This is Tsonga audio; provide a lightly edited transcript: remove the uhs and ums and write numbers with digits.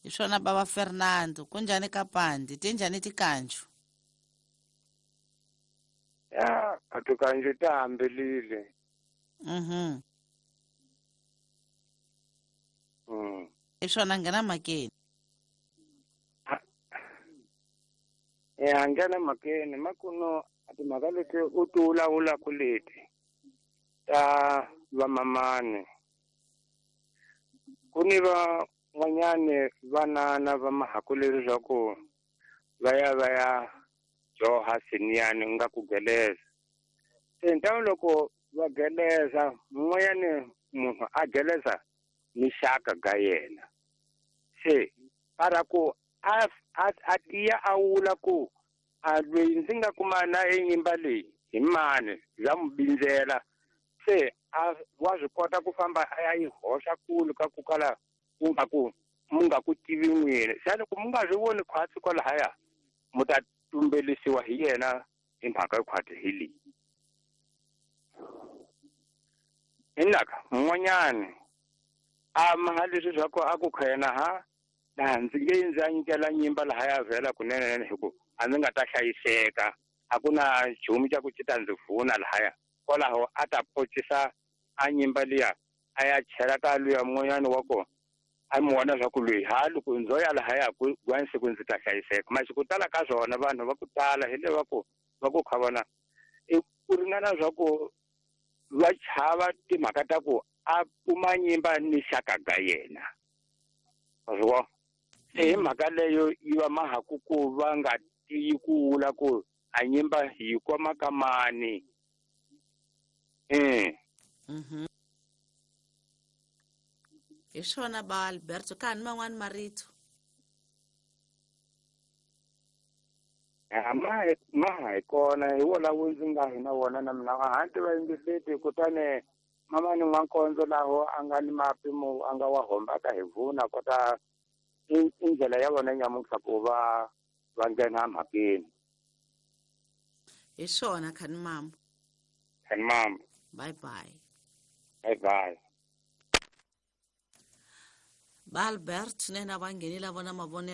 Hi swona bava Fernando, kunjhani ka Pandi? Tinjhani tikanju? Ya, a tikanju ta hambelile. Hi swona nghena mhakeni. Ya, nghena mhakeni makuno a timhaka leti u ti vulavulaka leti ta vamamani. Ku ni van'wanyani vanana va mahaku leswaku va ya va ya joha siniyani nga ku geleza. Se ntawu loko va geleza mun'wanyani munhu a geleza ni xaka ga yena. Se para ku a tiya a wula ku a loyi ndzi nga kuma na enyimba leyi hi mani bya mu bindzela. Se a wa swi kota ku famba a ya yi hoxa kulu ka ku kala ku nga ku mu nga ku tivi n'wini. Se loko mu nga swi voni khwatsi kwalahaya mu ta tumbelisiwa hi yena hi mhaka yo khwatsi hi leyi. Hinaka mun'wanyani a maha leswi swa ku a ku kha yena ha laha ndzi nge ndzi ya nyikela nyimba lahaya vhela kunene hi ku a ndzi nga ta hlayiseka, a ku na nchumu xa ku xi ta ndzi vuna lahaya. Kwalaho a ta pocisa a nyimba liya a ya chela ka luya mun'wanyani wa kona a mi vona swa ku loyi ha loko ndzo ya lahaya ku gwansi siku ndzi ta hlayiseka. Masi ku tala ka swona vanhu va ku tala hi le va ku va ku kha vona i ku ringana swa ku va chava timhaka ta ku a kuma nyimba ni xaka ga yena. Wa swi vona? Se hi mhaka leyo yi va mahaku ku va nga tiyi ku vula ku a nyimba yi koma ka mani. Hi swona ba Alberto, ka ha ni man'wani marito? Ya, ma ha hi kona, hi wona wu ndzi nga hi na wona na mina. A ha ni tiva yingiseti, kutani mama ni n'wankondzo laho a nga ni mapimo a nga wa hombaka hi vuna kota i ndlela ya vona nyamuntlha ku va va nghena mhakeni. Hi swona, khani mama. Khani mama. Bye bye. Bye bye. Ba Albert nena va nghenile vona mavonelo.